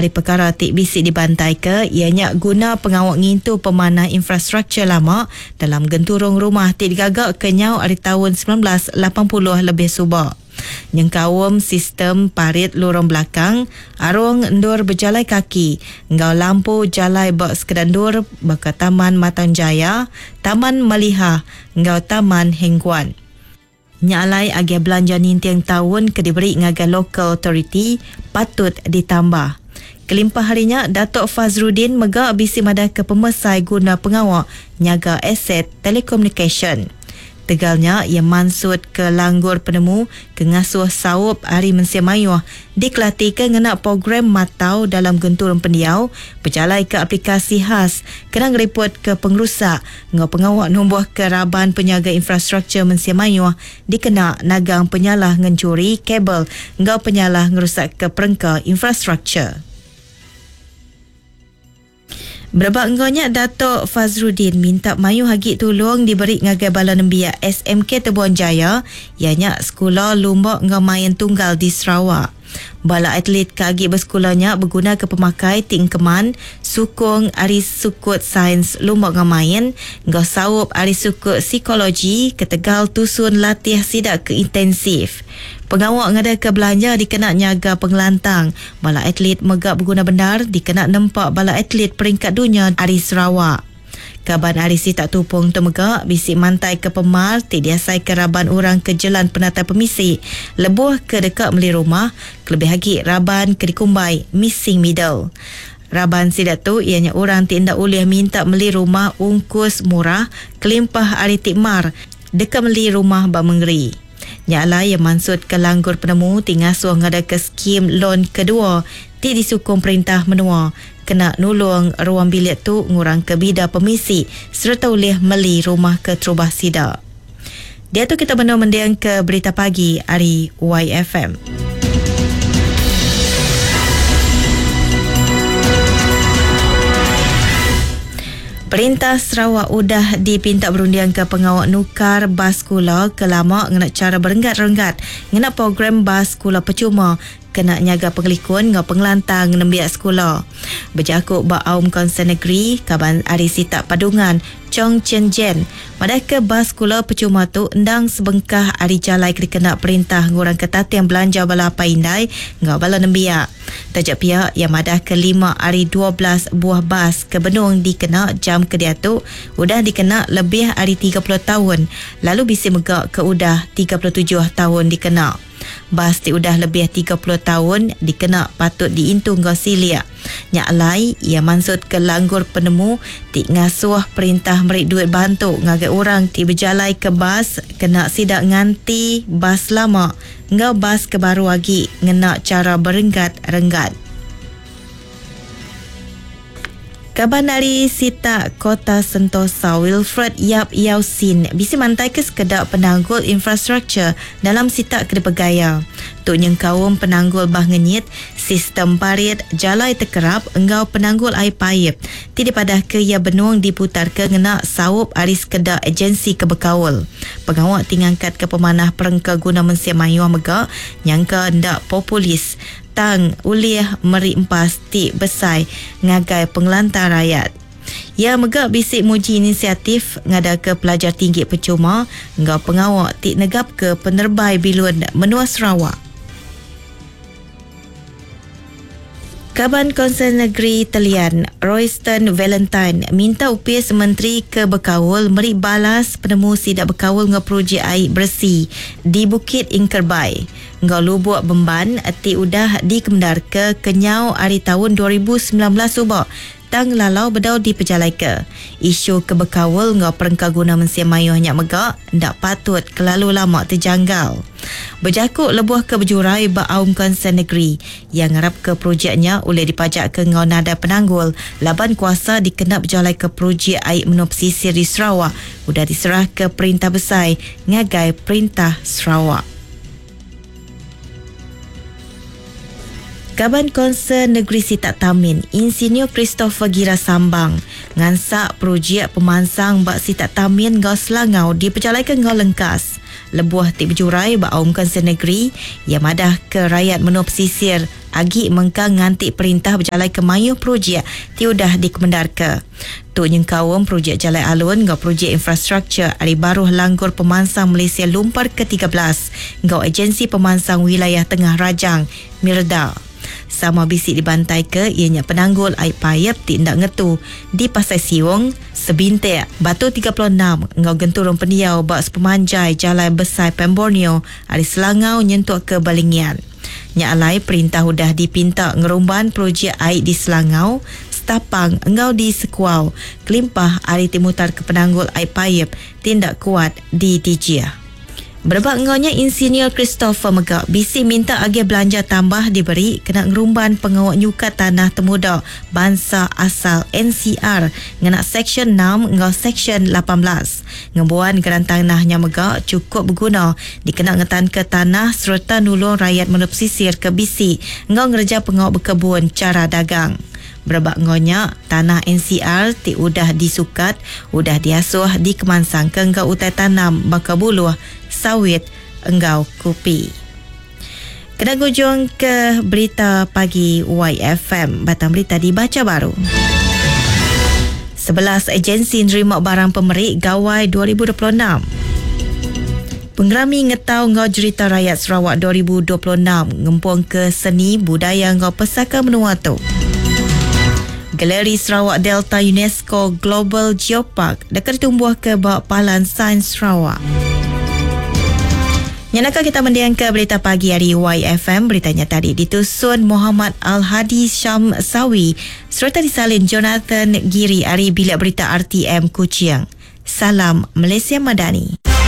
ari pekara ti bisi dibantaika iya nya guna pengawa ngintu pemanah infrastruktur lama dalam genturung rumah ti digaga kenyau ari taun 1980 lebih suba nyengkaum sistem parit lurung belakang, arung endur bejalai kaki enggau lampu jalai ba sekeda endur baka Taman Matang Jaya, Taman Malihah enggau Taman Heng Guan. Nya alai agih belanja ninting taun ke diberi ngagai local authority patut ditambah. Kelimpah ari nya, Datuk Fazzrudin mega bisi madahka pemesai guna pengawa nyaga aset telekomunikasyen. Tegal nya, iya mansutka langgur penemu ke ngasuh saup ari mensia mayuh dikelatika ngena program matau dalam genturung pendiau, bejalaika aplikasi khas kena ngeripotka pengerusak enggau pengawa numbuhka raban penyaga infrastruktur mensia mayuh dikena nagang penyalah ngenchuri kabel enggau penyalah ngerusakka perengka infrastruktur. Berebak enggau nya, Datuk Fazzrudin minta mayuh agi tulung diberi ngagai bala nembiak SMK Tebuan Jaya iya nya sekula lumba enggau main tunggal di Sarawak. Bala atlet ke agi besekula nya begunaka pemakai ti engkeman, sukung ari sukut sains lumba enggau main enggau saup ari sukut psikologi ketegal tusun latih sida ke intensif. Pengawa ngadaka belanja dikena nyaga pengelantang bala atlet mega beguna bendar dikena nempa bala atlet peringkat dunya ari Sarawak. Kaban ari sitak Tupong tu mega bisi mantaika pemar ti diasaika raban orang ke jelan penatai pemisi lebuh ke deka meli rumah kelebih agi raban ke dikumbai missing middle. Raban sida tu iya nya orang ti enda ulih minta meli rumah ungkus murah kelimpah ari ti mar deka meli rumah ba mengeri. Nya alai iya mansutka langgur penemu ti ngasuh ngadaka skim lon kedua ti disukung perintah menua kena nulung ruang bilik tu ngurangka bida pemisi sereta ulih meli rumah keterubah sida. Diatu kita benung mendingka Berita Pagi ari YFM. Perintah Sarawak udah dipinta berundingka pengawa nukar bas sekula ke lama ngena chara berenggat-renggat ngena program bas sekula pechuma kena nyaga pengelikun enggau pengelantang nembiak sekula. Bejaku ba Aum Kaunsil Negeri, kaban ari sitak Padungan, Chong Chen Jen, madahka bas sekula pechuma tu endang sebengkah ari jalai ke dikena perintah ngurangka tating belanja bala apai indai enggau bala nembiak. Taja pia, iya madahka lima ari 12 buah bas ke benung dikena jam ke diatu udah dikena lebih ari 30 taun lalu bisi mega ke udah 37 taun dikena. Bas ti udah lebih 30 taun dikena patut diintu enggau silik. Nya alai, iya mansutka langgur penemu ti ngasuh perintah meri duit bantu ngagai orang ti bejalaika bas kena sida nganti bas lama enggau bas ke baru agi ngena chara berenggat-renggat. Kaban ari sitak Kota Sentosa Wilfred Yap Yau Sin bisi mantaika sekeda penanggul infrastruktur dalam sitak ke dipegai iya. Tu nyengkaum penanggul bah ngenyit, sistem parit, jalai tekerap enggau penanggul ai paip ti dipadahka iya benung diputarka ngena saup ari sekeda agensi ke bekaul. Pengawa ti ngangkatka pemanah perengka guna mensia mayuh mega nyangka enda populis tang ulih meri empas ti besai ngagai pengelantang rayat. Iya mega bisi muji inisiatif ngadaka pelajar tinggi pechuma enggau pengawa ti negapka penerebai bilun menua Sarawak. Kaban Kaunsil Negeri Telian, Royston Valentine minta opis menteri ke bekaul meri balas penemu sida bekaul enggau projek ai beresi di Bukit Ingkerbai enggau Lubuk Bemban ti udah dikemendarka kenyau ari taun 2019 suba tang lalau bedau dipejalaika. Isu ke bekaul enggau perengka guna mensia mayuh nya mega enda patut kelalu lama tejanggal. Bejaku lebuh ke bejurai ba Aum Kaunsil Negeri, iya ngarapka projek nya ulih dipajakka enggau nadai penanggul laban kuasa dikena bejalaika projek ai menua pesisir di Sarawak udah diserahka Perintah Besai ngagai Perintah Sarawak. Kaban Kaunsil Negeri Sitak Tamin, Insinyur Christopher Gira Sambang, ngansak projek pemansang ba Sitak Tamin enggau Selangau dipejalaika enggau lengkas. Lebuh ti bejurai ba Aum Kunsil Negeri, iya madah ke rayat menua pesisir agi mengkang nganti perintah bejalaika mayuh projek ti udah dikemendarka. Tu nyengkaum projek jalai alun enggau projek infrastruktur ari baruh Langgur Pemansang Malaysia Lumpar ke 13 enggau Agensi Pemansang Wilayah Tengah Rajang, Mirda. Sama bisi dibantaika iya nya penanggul ai paip ti enda ngetu di Pasai Siong, Sebintik, Batu 36 enggau genturung pendiau ba sepemanjai Jalai Besai Pan Borneo ari Selangau nyentuk ke Balingian. Nya alai perintah udah dipinta ngerumban projek ai di Selangau, Stapang enggau di Sekuau kelimpah ari ti mutarka penanggul ai paip ti enda kuat di Dijih. Berebak enggau nya, Insinyur Christopher mega bisi minta agih belanja tambah diberi kena ngerumban pengawa nyukat tanah temuda bansa asal NCR ngena Seksyen 6 enggau Seksyen 18. Ngembuan geran tanah nya mega chukup beguna dikena ngetanka tanah sereta nulung rayat menua pesisir ke bisi enggau ngereja pengawa bekebun chara dagang. Berebak enggau nya, tanah NCR ti udah disukat udah diasuh dikemansangka enggau utai tanam baka buluh, sawit enggau kupi. Kena ngujung ke berita pagi YFM, batang berita dibacha baru. 11 agensi nerima barang pemeri Gawai 2026. Pengerami Ngetau enggau Jerita Rayat Sarawak 2026 ngempungka seni, budaya enggau pesaka menua tu. Galeri Sarawak Delta UNESCO Global Geopark deka ditumbuhka ba Palan Sains Sarawak. Nya naka kita mendingka berita pagi ari YFM. Berita nya tadi ditusun Muhammad Al-Hadi Syam Sawi sereta disalin Jonathan Giri ari Bilik Berita RTM Kuching. Salam Malaysia Madani.